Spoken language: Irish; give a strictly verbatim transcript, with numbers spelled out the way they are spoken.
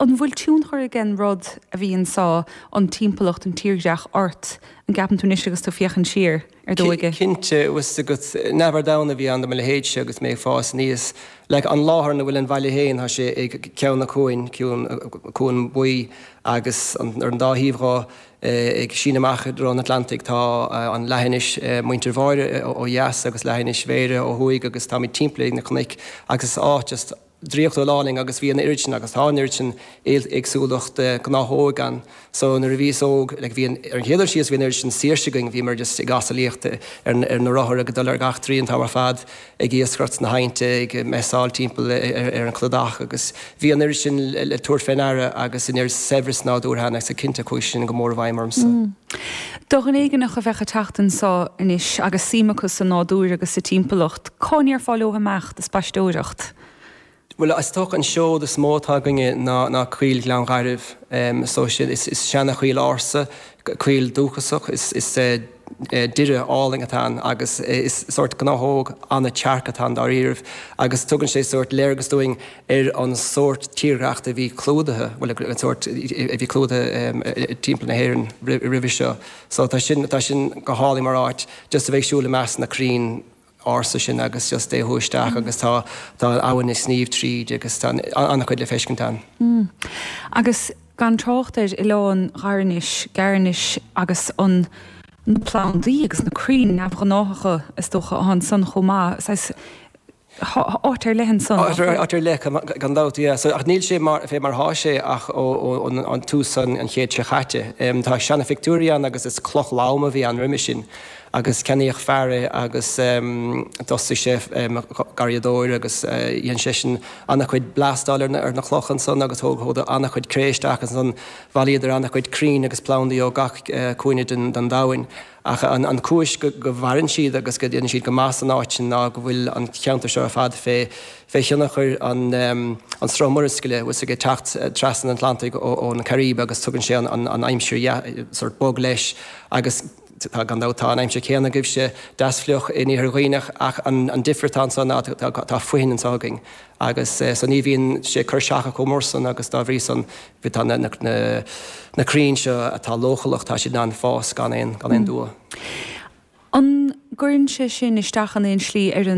An bhfuil tionchar ag an rud a bhí anso, an timpeallacht, an tírdhreach ort, an gceapann tú anois agus tú ag féachaint siar ar d'óige? Cinnte, bhfuil agat, neamhar domhan a bhí ann do mo leithéidse agus mé ag fás aníos. Like an láthair ina bhfuil an bhaile féin, tá sé ag ceann na cuain, cuan, cuan buí agus an, ar an dá thaobh dhó ag síneadh amach i dtreo an Atlantaigh tá an leathinis Muintir Bháire ó dheas agus leathinis Bhéarra ó thuaidh agus táimid timpeallaithe ag na cnoic agus is áit just draíochtúil álainn agus bhí an oiread sin agus tá an oiread sin éagsúlacht gnáthóg ann. So nuair a bhíos óg, like bhí an, ar an chéad dul síos bhí an oiread sin saoirse againn, bhíomar just ag asalaíocht ar, ar na rothair ag dul ar gach treo an t-am ar fad, ag iascaireacht sna haibhnte, ag messáil timpeall ar, ar an chladach agus bhí an oiread sin le tabhairt fé ndeara agus an oiread saibhreas nádúrtha ann agus cinnte chuaigh sin go mór i bhfeidhm ormsa. Mm. Do dhuine éigineach a bheadh ag teacht anso anois agus suim acu sa nádúr agus sa timpeallacht, cá ndéarfá leo imeacht ag spaisteoireacht? Bhuel, is dócha an seod is mó atá againne ná ná Coill Ghleann Ghairbh. Um, so sin is, is seanachoill ársa, coill dúchasach, is, is uh, doire álainn atá ann agus is sórt gnáthóg an-tearc atá ann dáiríribh agus tugann sé sórt léargas dúinn ar an sórt tírdhreachta a bhí clúdaithe, bhuel an sórt a bhí clúdaithe um, timpeall na hÉireann roimhe seo. So tá sin tá sin go hálainn mar áit just a bheith ag siúl i measc na crainn ársa sin agus just é isteach agus tá tá abhainn ag sníomh tríd agus tá an-chuid le feiscint ann. Mm. Agus gan trácht ar oileán Ghairnis, Gairnis agus an na plandaí agus na crainn neamhghnáthacha is dócha ansan chomh maith. Áit ar leith ansan. Áit ar leith gan dabht yeah. So ach níl sé mar fé mar atá sé ach ó an tús an an chéad seo chaite. Um, tá seana-phictiúirí ann agus is cloch lom a bhí ann roimhe sin. agus ceannaíodh fear é agus um, d'fhostaigh sé um, garraíodóir agus uh, dhein seisean an-chuid blastáil ar na, ar na clocha ansan agus thóg thóg an-chuid cré isteach ansan bhailíodar an-chuid crainn agus plandaí ó gach uh, cúinne den, den domhain. Ach an, an chúis go, go mhaireann siad agus go ndéanann siad go maith san áit sin ná go bhfuil an ceantar seo ar fad fé fé thionchar an, um, an sruth murascaille bhfuil ag teacht trasna an Atlantaigh ó, ón Caribe agus tugann sé an, an, an aimsir sort bog leis agus tá gan tá an aimsir céanna agaibhse deas fliuch in Iarthar Dhuibhneach ach an, an difear atá anso ná tá, tá foithin anseo againn. Agus eh, so ní bhíonn sé cur seacha chomh mór san agus dá bhrí san tá na, na, na, na crainn seo atá leochaileach tá siad in ann fás gan aon gan aon dua. An gcuireann sé sin isteach an aon slí ar an